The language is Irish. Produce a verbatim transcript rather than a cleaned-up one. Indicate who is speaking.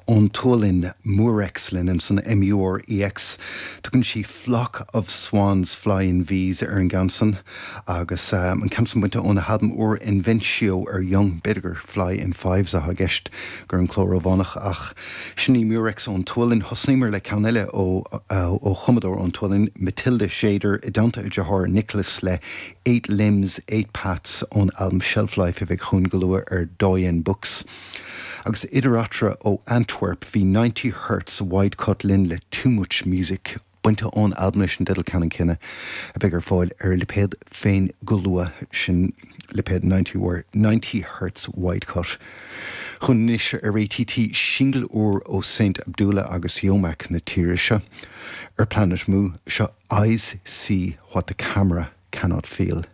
Speaker 1: Ón tSualainn Murex linn ansan MUREX tugann sí Flock of Swans Fly in V's ar an gceann san agus um, an ceann san bainte óna halbam úr Inventio ar Young b'fhéidir gur Fly in Fives atá i gceist gur an cló rómhánach ach sin í Murex ón tSualainn thosnaíomar le ceann eile ó ó chumadóir ón tSualainn Matilda Tjäder i dteannta a dearthár Nicholas le Eight Limbs, Eight Paths ón album Shelf Life a bheidh chugainn go luath ar Doyen Books. Agus idir eatarthu ó Antwerp bhí ninety Hertz wide cut linn le Too Much Music bainte ón albam leis an dteideal ceannann céanna a bheidh ar fáil ar a lipéad féin go luath sin lipéad ninety Hertz wide cut. Chun anois ar ATT singil úr ó Saint Abdullah agus Yomak na tíre seo ar Planet Mu seo Eyes See What the Camera Cannot Feel.